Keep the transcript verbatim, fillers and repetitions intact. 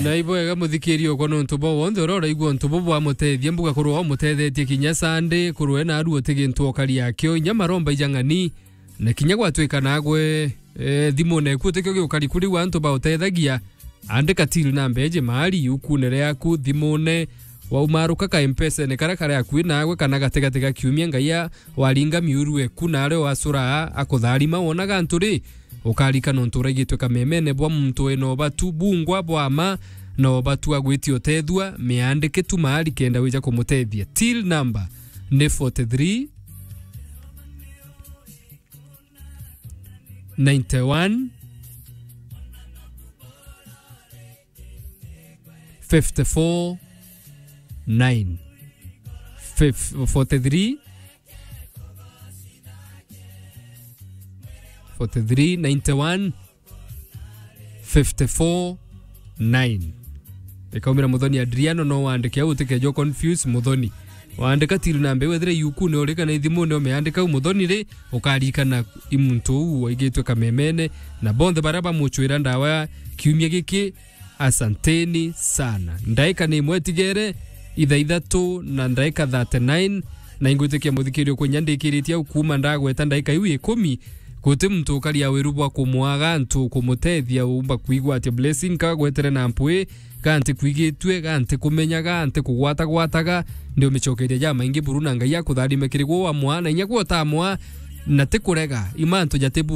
Na ibwega muthikiria okwa nontu bwa wonthe uria uraigua untu bubu bwamutethia, mbuga kurwa umutethetie kinya Sunday, kurwe na aru uti gintu okari akio, inya maromba ijang'ani, na kinya gwatwika nagwe, eh, thimune eku utikio giukari kuri wa antu bautethagia, andika till namba eje mahali yukune riaku, thimune, waumaruka ka M-Pesa-ene karia kari akui nagwe kana gatigati ga kiumia, Ngai a-, waringa miuru eku nario wacura akutharima wonaga antu ri, ukarika nontu uraigitwe kamemene bwa muntu wina ubatu bungwa bwa ma, na ubatu agwitia utethua, miandike tu mahali kenda wija kumutethia. Till number ni forty-three, ninety-one, fifty-four, nine. Fif-, forty-three, forty-three, ninety-one, fifty-four, nine. Ikaumira Muthoni Adriano, no wandike au, utikejo confuse Muthoni. Wandika till namba iu, ethire yukune uri kana ithimune umeandika au Muthoni ri, ukarikana i muntu uu waigitwe kamemene, na bonthe baria bamuchwira ndawa kiumia giki, asanteni sana. Ndaika ni imwe itigere, ithaa ithatu na ndaika thirty-nine, na ingwitikia muthikirio kwinya ndikiritie au kuuma ndagweta ndaika iu ikumi, guti muntu ukaria wiru bwa kumwaga antu kumutethia, umba kwigua atia blessing kagwetere na mpwi, ga nti kwigitue, ga nti kumenya, ga nti kugwata gwataga, ndi umicokeria jamaingi buru na Ngai akutharime kiri gwo wamwa, na inya gwo utamwa, na ti kurega, i mantu jati bu-